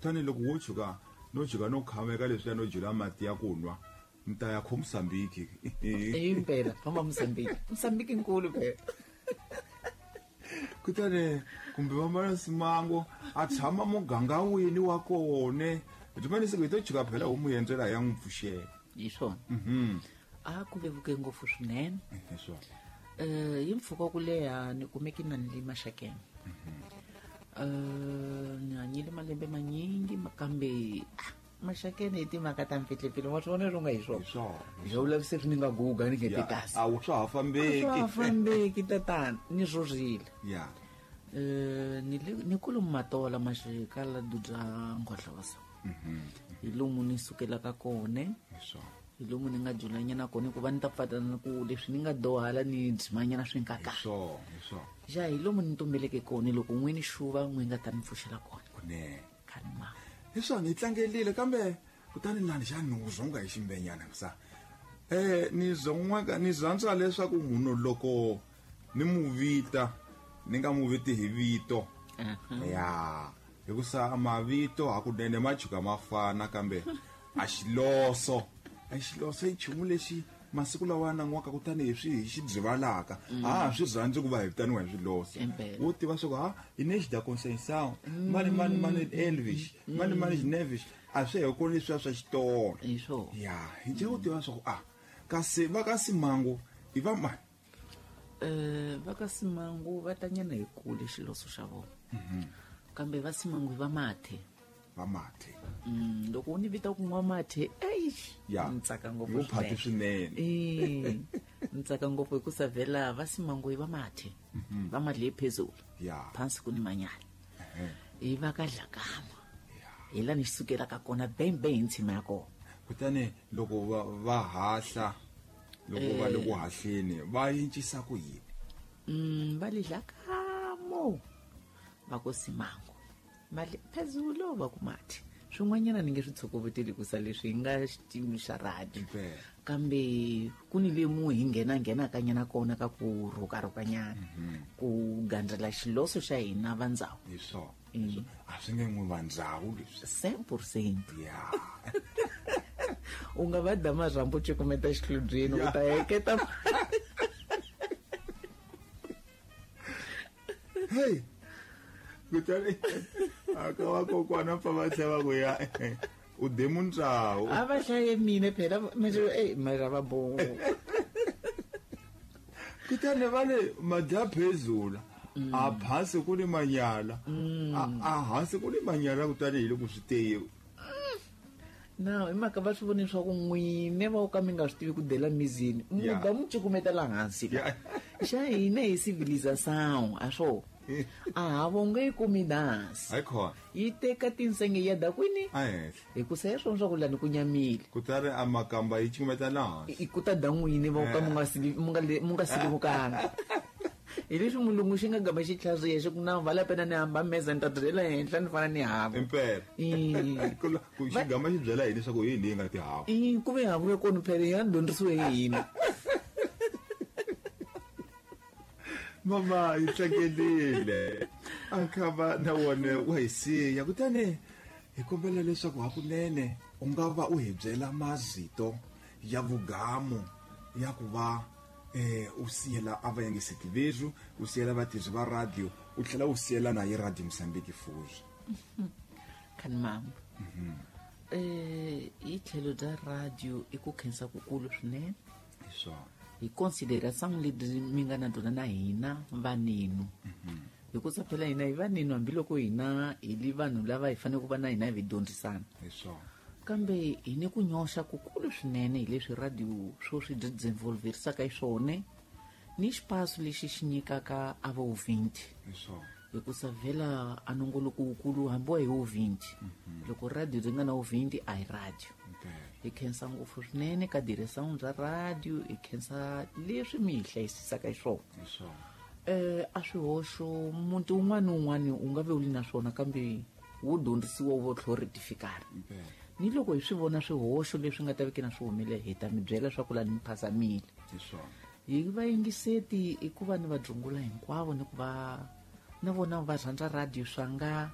Kutani loko wo tshuka no tshuka no khameka leswiya no jula mati ya ku nwa, ni ta ya kho Mozambique. Impela famba Mozambique, Mozambique nkulu phela. Kutani kumbe va Simango a tshama muganga wini wa kone, rimani siku hi to tshuka phela u mu endzela ya n'wi pfuxela. Hi swona. A ku vevuke ngopfu swinene. Hi swona. Hi mpfhuka wa ku leha ni kumeke na ni le Maxakeni. Ni hanyile malembe manyingi, kambe Maxakeni hi timhaka ta mpfihlepfile, wa swi vona swo nga hi swona. Hi swona. Hi swa vula se ni nga guga ni nge kasi. A wu swa ha fambeki. Swa ha fambeki tatana, ni rhurhile. Ni le ni kulu Matola maxikala dudza Ngohlosa. Hi lomu ni sukelaka kone. Hi swona. Hi lomu ni nga julanyana kone ku va ni ta pfatana ku leswi ni nga dohala ni dzimanyana swi nga kahle. Hi swona, hi swona. Ja hi lomu ni tumbeleke kone loko n'wini xuva n'wi nga ta ni pfuxela kona. Kunene. Khani ma. Hi swona, hi tlangelile kambe kutani lani xa ni zonga hi ximbenyana sa. Ni zon'waka ni rhandza leswaku munhu loko ni mu vita ni nga mu viti hi vito. Ya, hikusa mavito hakunene ma tshuka ma fana kambe a xiloso. A xiloso i nchumu lexi masiku lawa nan'waka kutani hi swi hi xi byivalaka. A swi rhandzi ku va hi vitaniwa hi swiloso. Wo tiva swa ku ha Inês da Conceição, mani mani mani Elvis, mani mani Neves, a swi he kona leswiya swa xitolo. Hi swona. Ya, hi nje u tiva swa ku kasi va ka Simango i va mani? Va ka Simango va tanyana hi kule xiloso xa vona. Kambe va Simango i va Mathe. Va Mathe. Loko u ni vita ku n'wa Mathe, eish, ni tsaka ngopfu Yo phati swinene. swinene. Ni tsaka ngopfu hi ku savela va Simango i va Mathe. Va Mathe phezulu. Phansi ku ni manyala. I va ka Dlakama. Hi la ni sukelaka kona bembe hi ntshima ya kona. Kutani loko va hahla, loko va le ku hahleni, va yincisa ku yini? Va le Dlakamo. Va ku Simango. Mali phezulu va ku Mathe. Swin'wanyana ni nge swi tshokoveteli ku sa leswi hi nga xitimu xa radio. Kambe ku ni lemu hi nghena nghenaka nyana kona ka ku rhukarhukanyana. Ku gandzela xiloso xa hina va ndzhawu. Hi swona. A swi nge n'wi va ndzhawu leswi. Cent pour cent. Ya. U nga va da marhambu cukumeta xihlobyeni, u ta heketa. Hey. Kutani a ka va kokwana pfa va tlhela va ku ya u de muntsawu. A va hlaye mina phela, manje, ey, mara va bo. Kutani va le madya phezulu, a phasi ku ni manyala, a hansi ku ni manyala, kutani hi loko swi teye. Na, hi mhaka va swi vone leswaku n'wine va ka mi nga swi tivi ku dela mizini, mi da mi cukumeta la hansi. Xa hina hi civilization, a swo. A ha vonge yi kumi dansi. Hayi khona. Yi teka tinsenge ya da kwini? A henhla. Hi ku se swona swa ku lani ku nyamile. Kutani a makamba yi cukumeta la hansi. I ku ta da n'wini va ka mi nga sili, mi nga le, mi nga silivukanga. Hi leswi mulungu xi nga gama xi tlhariha xi ku na vala pena ni hamba meza ni ta byela henhla ni fana ni hava. Impela. Ku la, ku xi gama xi byela yini leswaku hi leyi nga tihava? Ku ve hava ya kona phela ya dyondzisiwe hi hina. Mama yi tlangelile. A kha va na wona wa hi siya. Kutani hi kombela leswaku hakunene u nga va u hi byela mazito ya vugamu ya ku va u siyela a va yingiseti vethu, u siyela vatirhi va radio, u tlhela u siyela na hi Radio Mozambique futhi. Khani mama. Hi tlhelo bya radio i ku khensa kukulu swinene. Hi swona. Hi consideration lebyi mi nga na byona na hina vanenu. Hikusa phela hina hi vanenu hambiloko hina hi li vanhu lava hi fanele ku va na hina hi dyondzisana. Hi swona. Kambe hi ni ku nyoxa kukulu swinene hi leswi radio swo swi desenvolverisaka hi swona ni xipaso lexi xi nyikaka a va 20. Hi swona. Hikusa vhela a nongoloko wukulu hambi wa hi wo 20. Loko radio ri nga na wo 20 a hi radio. Hi khensa ngopfu swinene ka direction bya radio, hi khensa leswi mi hi hlayisisaka hi swona. Hi swona. A swihoxo muti wun'wana ni wun'wana u nga ve u li na swona kambe wu dyondzisiwa wu vo tlhela wu rectifikana. Ni loko hi swi vona swihoxo leswi nga ta veke na swi humile, hi ta mi byela leswaku laha ni mi phazamile. Hi swona. Hi vayingiseti i ku va ni va dzungula hinkwavo ni ku va na vona va rhandza radio swa nga,